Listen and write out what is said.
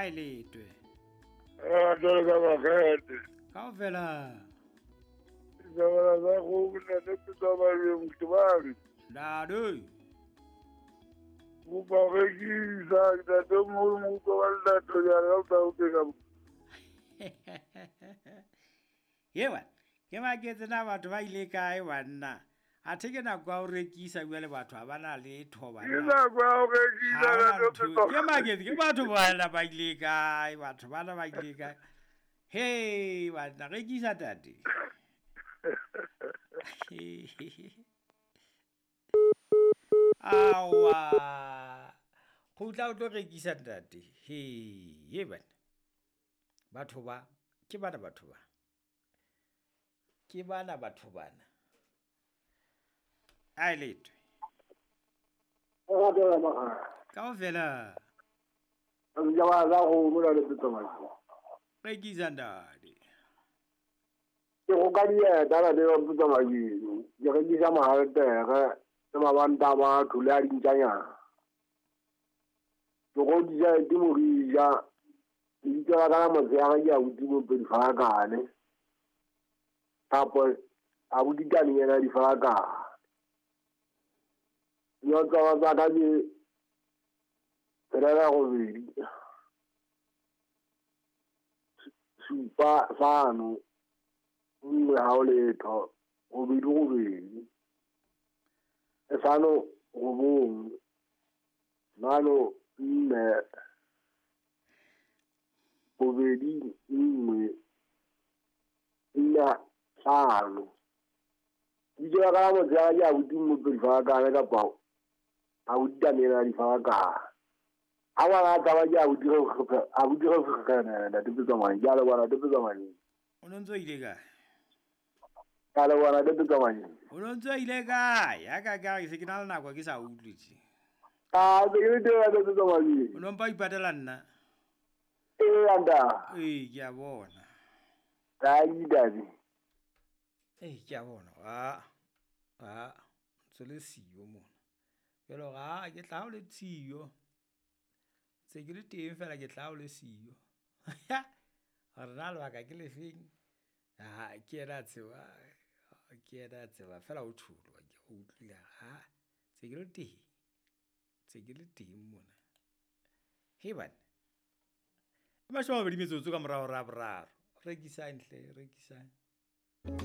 A e letwe. Jwalo ka bakgete. Kaofela. Ditaba tsa kgomo ntate Petsamane Motebane. Ntate. Kopa ho rekisa ntate moholo mo utlwa wa lelato jana ka o tla o Ewa, ke maketse na batho ba ile kae banna. Athe ke nako ya ho rekisa jwale batho ha ba na letho Ke banna. nako ya ho rekisa Ha hona ntate ntho. Ke Petsamane. maketse ke batho bana ba ile kae, batho bana ba ile kae. He, banna rekisa tate. Awa. Kgutla o tlo rekisa ntate. He, ye bana. Batho ba, ke bana batho ba. Ke bana batho bana. A e letwe. Kaofela. Ditaba tsa kgomo ntate Petsamane. Rekisa ntate. Ke go ka dieta ntate Petsamane. Ke rekisa mahaltere le mabanta a batho le a dintjanyana. Ke godisa ke Morija. Lebitso la ka la motshehare ke abuti Mopedi Farakane. Kapa abuti Taninyana Difarakane. Dinotlolo tsa ka ke 6 8 7 5 1 0 0 2 2 5 9 4 2 1 4 5. Lebitso la ka la motshehare ke abuti Mopedi Farakane kapa abuti Taninyana Difarakane. Ha ngwana a tsamaya ke abuti Kgekgene ntate Petsamane. Ke a leboha ntate Petsamane. O no ntso ile kae? Ke a leboha ntate Petsamane. O no ntso ile kae? Ya ka ka se ke na le nako ke sa utlwe tje. Ah, se ke le teng ntate Petsamane. O no mpa ipatela nna? Ee, nta. Ee, ke a bona. Ai, ntate. Ee, ke a bona. A ntse le siyo mona. Jwale hore a ke tla o le siyo. Ntse ke le teng fela ke tla o le siyo. Hore na lebaka ke lefeng? Ha ke yena a tseba, ke yena a tseba fela o tjholo ke o utlwile ha ntse ke le teng. Ntse ke le teng mona. He bana. 20 metsotso ka morao hora ya boraro. Rekisang hle, rekisang.